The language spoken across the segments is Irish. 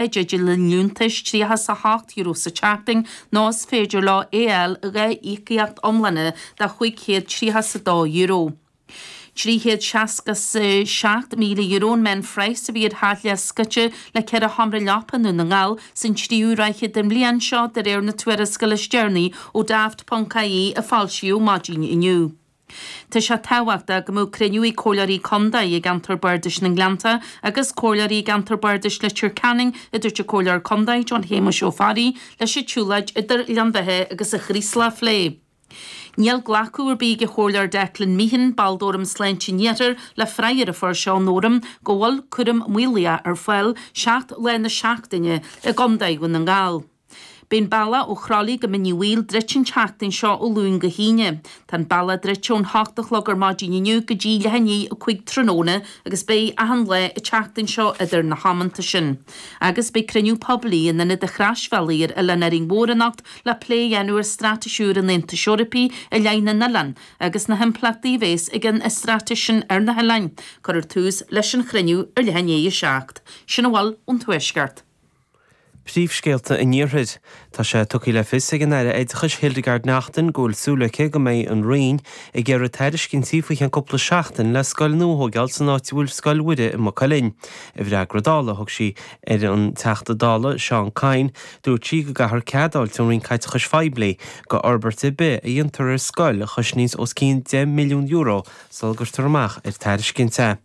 I dteideal an liúntais €38 sa tseachtain nó is féidir leo é a fháil i dha íocaíocht iomlána de €532. €367,000 an meánphraghas a bhí ar theach leathscoite le ceithre sheomra leapa i nDún na nGall san tríú ráithe den bhliain seo de réir na tuarascála is deireanaí ó Daft.ie a foilsíodh maidin inniu. Tá sé tábhachtach go mbeadh cruinniú ag Comhairleoirí Contae i gceantar Bardais na nGleannta agus Comhairleoirí i gceantar Bardais Leitir Ceanainn, a dúirt an Comhairleoir Contae John Shéamuis Ó Fearraigh, leis an tsiúlóid idir Gleann Bheatha agus an Chraoslach a phlé. Níl glacadh ar bith ag an Chomhairleoir Declan Meehan, ball d'Fhóram Sláinte an Iarthair, le freagra a fuair sé ón Fhóram go bhfuil cúram maolaithe ar fáil 7 lá na seachtaine i gContae Dhún na nGall. Beidh an bealach ó Chroithlí go Mín Uí Bhaoill druidte an tseachtain seo ó Luan go hAoine. Tá an bealach druidte ón hocht a chlog ar maidin inniu go dtí leath i ndiaidh 5 tráthnóna agus beidh achan lá an tseachtain seo idir na hamanta sin. Agus beidh cruinniú poiblí in Ionad an Chroisbhealaigh ar Oileán Árainn Mhór anocht le plé a dhéanamh ar straitéis úr an Aontais Eorpaigh i leith na n-oileán agus na himpleachtaí a bhéas ag an straitéis sin ar na hoileáin. Cuirfear tús leis an chruinniú ar leath i ndiaidh 7. Sin a bhfuil ón Tuaisceart. Príomhscéalta an Iarthair. Tá sé tugtha le fios ag an Aire Oideachais Hildegarde Naughton go bhfuil súil aici go mbeidh an Roinn ag iarraidh tairiscintí faoi cheann cúpla seachtain le scoil nua a thóigeáil san áit a bhfuil Scoil Mhuire i Maigh Cuilinn. I bhfreagra Dála a thug sí ar an Teachta Dála Seán Kyne, dúirt sí go gcaithfear cead a fháilt ón Roinn Caiteachais Phoiblí do fhorbairt ar bith a dhéantar ar scoil a chosnaíonns os cionn €10 milliún sula gcuirtear amach ar tairiscint é.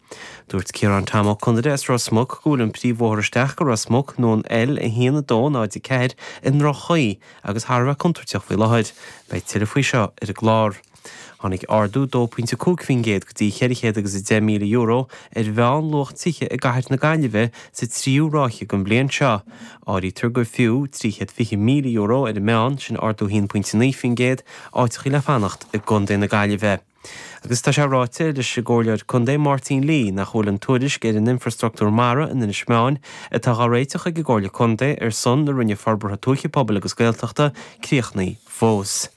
Dúirt Ciarán Tom Ó Conaire as Ros Muc go bhfuil an príomhbhóthar isteach go Ros Muc nó an L1 2 0 4 i ndroch-chaoi agus thar a bheith contúirteach faoi láthair. Beidh tuilleadh faoi seo ar an gclár. Tháinig ardú 2.5% go dtí €410,000 ar mheánluach tithe i gcathair na Gaillimhe sa tríú ráithe den bhliain seo. Áirítear gur fiú €320,000 ar an meán, sin ardú 1.9%, áiteachaí le fanacht i gContae na Gaillimhe. Agus tá sé ráite leis an gComhairleoir Contae Máirtín Lee nach bhfuil an tuairisc ar an infrastruchtúr mara in Inis Meáin, atá dhá réiteach ag an gComhairle Contae ar son na Roinne Forbartha Tuaithe, Pobail agus Gaeltachta, críochnaithe fós.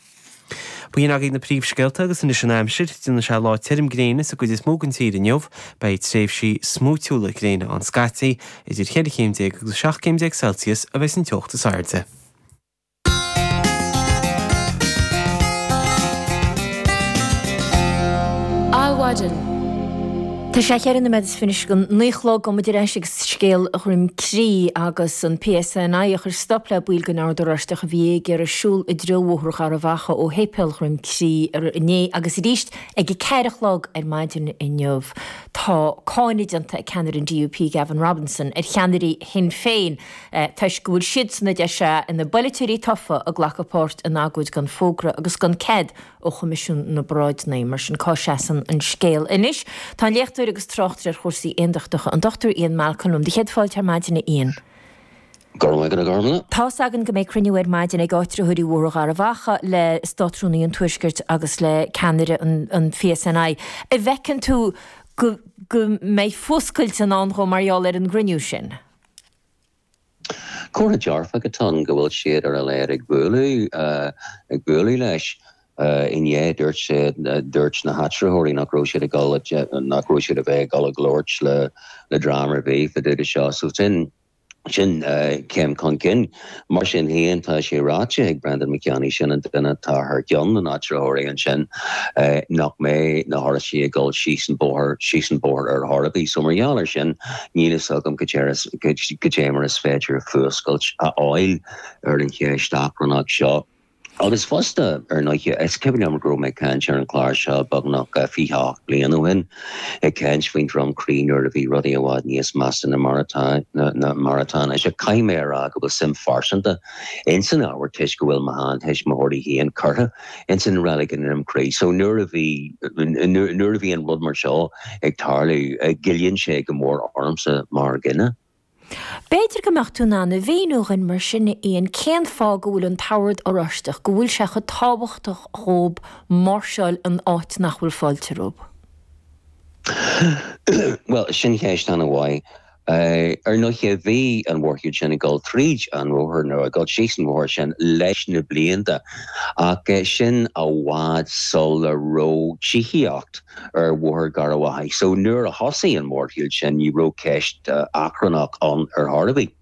B'in agaibh na príomhscéalta agus anois an aimsir. Déanfaidh sé lá tirim gréine sa gcuid is mó den tír inniu. Beidh tréimhsí smúitiúla gréine ann scaití. Idir cheithre chéim déag agus 17 céim Celsius a bheas an teocht is airde. Adhmhaidin. Tá sé cheithre nóiméad is fiche go naoi a chlog gabhfaidh muid ar ais ag scéal Dhroim Crí agus an PSNI a chuir stop le baill den Ord Oráisteach a bhí ag iarraidh siúl i dtreo Bhóthar Gharbh Achaidh ó Shéipéal Dhroim Crí inné agus arís ag a ceathair a chlog ar maidin inniu. Tá cáineadh déanta ag ceannaire an DUP Gavin Robinson ar cheannairí Shinn Féin toisc go bhfuil siadsan, a deir sé, ina bpolaiteoirí tofa ag glacadh páirt in agóid gan fógra agus gan cead ó Choimisiún na bParáideanna. Mar sin, cá seasann an scéal anois? Tá an léachtóir agus tráchtaire ar chúrsaí aondachtacha, an Dr Ian Malcolm liom. Do chéad fáilte ar maidin, a Ian. Go raibh maith agat, a Ghormlaith. Tá's againn go mbeidh cruinniú ar maidin ag áitritheoirí Bhóthar Gharbh Achaidh le Státrúnaí an Tuaiscirt agus le ceannaire an PSNI. An bhfeiceann tú go mbeidh fuascailt i ndán dhó mar gheall ar an gcruinniú sin? Comhartha dearfach atá ann go bhfuil siad ar a laghad ag bualadh, ag bualadh leis. Inné dúirt siad, dúirt na háitritheoirí nach raibh siad ag dul, nach raibh siad a bheith ag dul ag labhairt le le dream ar bith fá dtaobh de seo. So sin, sin céim chun cinn. Mar sin féin tá sé ráite ag Brendan McKenna, sin an duine atá thar ceann na n-áitritheoirí ansin, nach mbeidh na hOráistigh ag dul síos an bóthar, síos an bóthar ar chor ar bith. So mar gheall air sin, níl fhios agam cad é mar is féidir fuascailt a fháil ar an cheist achrannach seo. Agus fosta, ar ndóighe, is cuimhin liom go raibh mé ag caint ar an chlár seo beagnach 28 bliain ó shin, ag caint faoin Droim Crí nuair a bhí rudaí i bhfad níos measa ná mar atá, ná mar atá anois. Ach caithfidh mé a rá go bhfuil suim phearsanta ins an ábhar toisc go bhfuil mo sheantuismitheoirí féin curtha ins an reilig i nDroim Crí. So nuair a bhí, nuair a bhíonn rud mar seo ag tarlú, goilleann sé go mór ormsa mar dhuine. B'fhéidir go mbeadh tú in ann a mhíniú dhuinn mar sin, a Ian, cén fáth go bhfuil an tOrd Oráisteach, go bhfuil sé chomh tábhachtach dhób máirseáil in áit nach bhfuil fáilte rompu? Bhuel, sin ceist an-mhaith. Ar ndóighe, bhí an mhórshiúl sin ag dul tríd an bhóthar, nó ag dul síos an bhóthar sin leis na blianta, ach sin i bhfad sula raibh tithíocht ar Bhóthar Gharbh Achaidh. So nuair a thosaigh an mhórshiúl sin, ní raibh ceist achrannach ann ar chor ar bith.